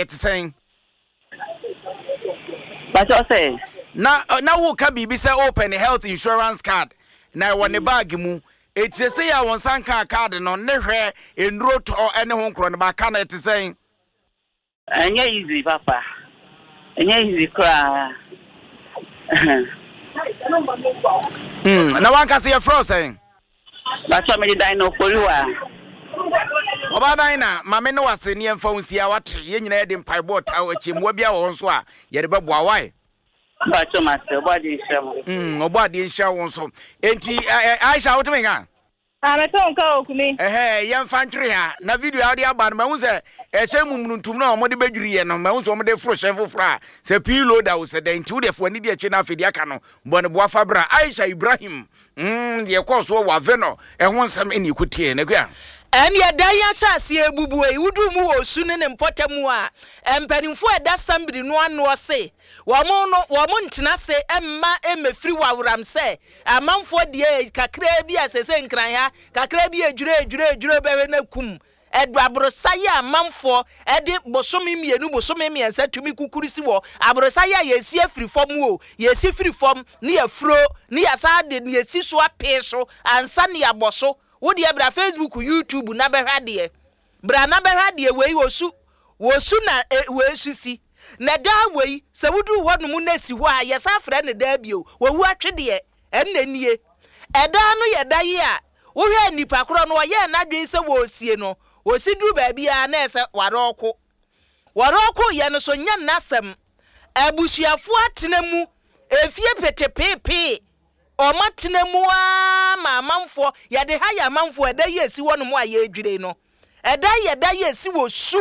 Ɛte sɛn? Pakyɛ sɛ. Na na woka biribi sɛ wopɛ ne health insurance card na ɛwɔ ne bag mu. Eti sɛ yɛ a wɔn nsa nkaa card no ne hwɛ nnuro tɔ ne ho nkorɔ no ba ka no ɛte sɛn? Ɛnyɛ easy papa. Ɛnyɛ easy koraa. Na wankasa yɛfrɛ wo sɛn? Pakyɛ mede dan na oforiwa. Ɔbaa dan na maame ne wase ne yɛmfa wo nsi a wate yɛn nyinaa yɛde mpaebɔ ɔtaa akyi mmoa bi a wɔ hɔ nso a yɛde bɛboa wae. Pakyɛ mase ɔbɔ adeɛ nhyira mo. Ɔbɔ adeɛ nhyira wo nso. Enti Aisha wotumi nka? Ah, mete wo nka o, Kumi. Ɛhɛɛ, yɛmfa ntwere ha. Na video a wode aba no, mahu sɛ ɛhyɛn mu mununtum no a wɔde bɛdwiri yɛ no, mahu sɛ wɔde foro hyɛn foforɔ a sɛ pii loader o sɛ dɛn nti wode fo ani di akyire na afei deɛ aka no bɔ ne boa fa bra. Aisha Ibrahim, deɛ ɛkɔɔ soɔ wɔ Avenor ɛho nsɛm ɛne ɛkɔtiee no akua. Ɛnneɛ dan yi ahyɛaseɛ rebubuo yi, woduu mu wɔ osu ne ne mpɔtam a, mpanimfoɔ a ɛda Sambiri no anoɔ se wɔn no wɔn ntena ase mma mmɛfiri waworam sɛ Amanfoɔ deɛ kakraa bi a sese Nkran ha kakraa bi edwire edwire edwire bɛhwɛ na kum ɛdo aborosa yi a amanfoɔ ɛde bosome mmienu bosome mmiɛnsa tumi kukuru si wɔ aborosa yi a yɛsi afiri fam o yɛsi firi fam ne yɛfuro ne yɛsan de ne yɛsi so apee so ansa ne yɛabɔ so wo deɛ bra Facebook YouTube na bɛhwɛ adeɛ Bra na bɛhwɛ adeɛ wei, osu, osu na e, wei nso si. Na daa wei, sɛ woduru hɔ nom na esi hɔ a, yɛsan frɛ no daa bio, owu atwedeɛ, ɛnna nie. Ɛdaa no yɛ da yi a, wohwɛ a nipa korɔ no, ɔyɛɛ n'adwene sɛ wɔresie no, ɔsi duru baabi ara na ɛsɛ warɔɔko. Wɔrɔɔkoeɛ no so nyɛ n'asɛm. Abusuafoɔ atena mu efie petepeepee. Wɔatena mu ara ma amanfoɔ, yɛde ha yɛ amanfoɔ, ɛda yi a ɛsi hɔnom a yɛredwire no, ɛda yi ɛda yi a ɛsi wɔ su,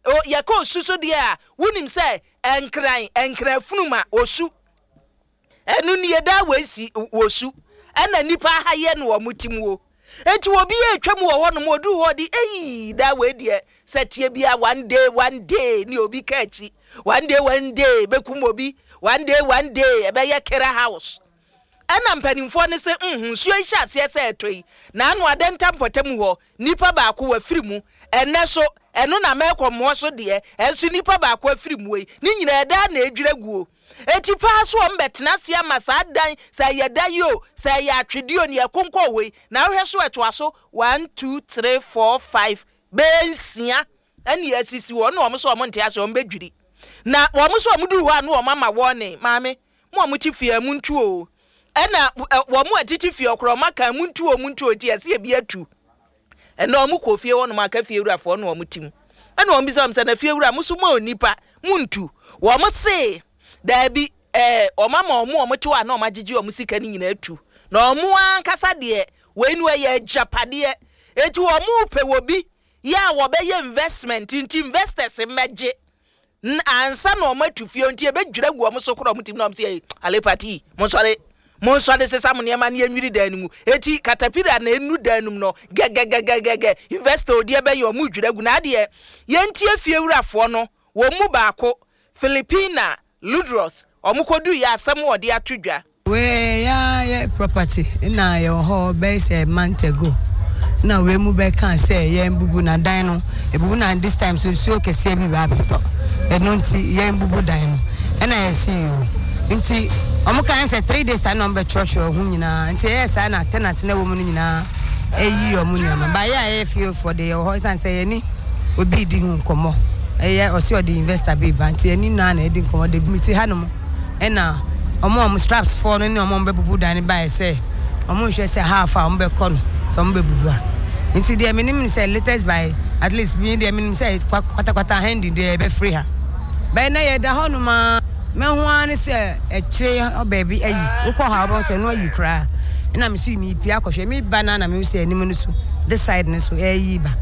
o, yɛka osu so deɛ a, wonim sɛ Nkran, Nkran afunum a, osu. Ɛno nie, da wei si wɔ su, ɛna nnipa aha yɛ no wɔn ti mu o. Enti obi retwa mu wɔ hɔnom, ɔduru hɔ ɔde, eii, da wei deɛ, sɛ teɛ bia one day, one day, ne obi ka akyi. One day, one day, bɛkum obi. One day, one day, ɛbɛyɛ Kera house. Ɛna mpanimfoɔ no se, mm, nsuo yi hyɛ aseɛ sɛ ɛtɔ yi, na ano Adenta mpɔtam hɔ, nipa baako wafiri mu. Ɛnnɛ so, ɛno na mɛkɔ mmoɔ so deɛ, ɛnso nipa baako afiri mu yi, ne nyinaa ɛdaa na ɛdwira guo. Eti paa so wɔn bɛtena ase ama saa dan, sɛ ɛyɛ da yi o, sɛ ɛyɛ atwedeɛ o, nea ɛkonkɔn hɔ yi, na wohwɛ so ɛtoa so, one, two, three, four, five, bɛyɛ nsia ɛne asisi hɔ, ɛna wɔn nso wɔn nte ase, wɔn bɛdwiri. Na wɔn nso wɔn duru hɔ a na wɔn ama warning, maame, mo a mote fie a montu o. Ɛna wɔn a tete fie ɔkorɔ wɔn aka montu o, montu o, nti ɛsɛ ebi atu. Ɛna wɔn kɔ fie hɔ nom aka fie wurafoɔ na wɔn te mu. Ɛna wɔn bisa wɔn sɛ, na fie wura mo so mo onipa, montu. Wɔn se, daabi, ɛɛ, wɔn ama wɔn a wɔte hɔ a na wɔn agyegye wɔn sika no nyinaa atu. Na wɔn ankasa deɛ, wei no ɛyɛ agyapadeɛ. Eti wɔn pɛ wɔ bi yɛ a wɔbɛyɛ investment nti investors mmɛgye ansa na wɔn atu fie nti ɛbɛdwira gu wɔn so korɔ wɔn tim na wɔn sɛ ɛyi alepati monsɔre monsɔre sesa mo nneɛma ne yɛnwiri dan no mu eti katapira na enu dan no mu no gɛgɛgɛgɛgɛ investor odi ɛbɛyɛ wɔn dwira gu na adeɛ yɛntie fie wurafoɔ no wɔn mu baako Filipina Ludroth wɔn kɔdu yɛ asɛm wɔde ato dwa. Wei ya yɛ property na yɛwɔ hɔ bɛyɛ sɛ month ago na wei mu bɛka sɛ yɛn bubu na dan no ebubu na this time so nsuo kɛseɛ bi ba abɛtɔ ɛno nti yɛn bubu dan no ɛna yɛsi yoo nti wɔn kan sɛ 3 days time na wɔn bɛtwerɛtwerɛ ho nyinaa nti ɛyɛ saa na tenant na ɛwɔ mu no nyinaa ɛyi wɔn nneɛma baayɛ a yɛyɛ fiefoɔ de yɛwɔ hɔ ɛsan sɛ yɛni obi di ho nkɔmɔ ɛyɛ ɔsi ɔde investor bi ba nti ɛni naa na ɛdi nkɔmɔ de bi mi ti ha nom. Ɛna wɔn a wɔn straps foɔ no ne wɔn a wɔbɛbubu dan no baeɛ sɛ wɔn nhwɛ sɛ half a wɔbɛkɔ no sɛ wɔbɛbubu a. Nti deɛ menim ne sɛ latest by at least me deɛ menim sɛ kwatakwata handy deɛ yɛbɛfiri ha. Bɛyɛ na yɛda hɔ nom a mɛho ara ne sɛ akyire hɔ baabi ayi. Wokɔ hɔ a wobɛhu sɛ ɛno ayi koraa. Ɛna me so mepie akɔhwɛ meba no a na mehu sɛ anim no so this side no so ɛreyi ba.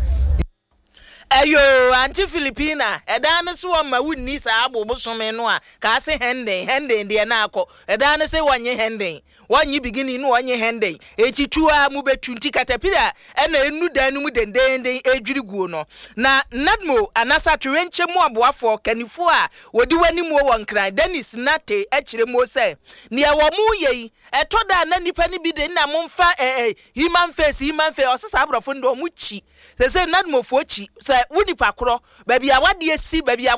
Ɛyoo, Auntie Filipina, ɛdaa ne se wɔmma wo nni saa abo bosome no a, kaa se hɛnden, hɛnden deɛ na akɔ. Ɛdaa ne se wɔnnye hɛnden, wɔnnye beginning no wɔnnye hɛnden. Eti tu ara mo bɛtu, nti katapira ɛna ɛnu dan no mu dendeenden ɛredwiri guo no. Na NADMO anasa atoyerɛnkyɛm mu aboafoɔ kannifoɔ a wɔdi w'animuo wɔ Nkran, Dennis Nartey kyerɛ muo sɛ, neɛ wɔn reyɛ yi, ɛtɔ da a na nnipa no bi de nna momfa eh eh human face, human face, ɔse saa aborɔfo no deɛ wɔn kyi. Seesei Nadmofoɔ kyi sɛ wo nipa korɔ, baabi a w'adeɛ si, baabi a.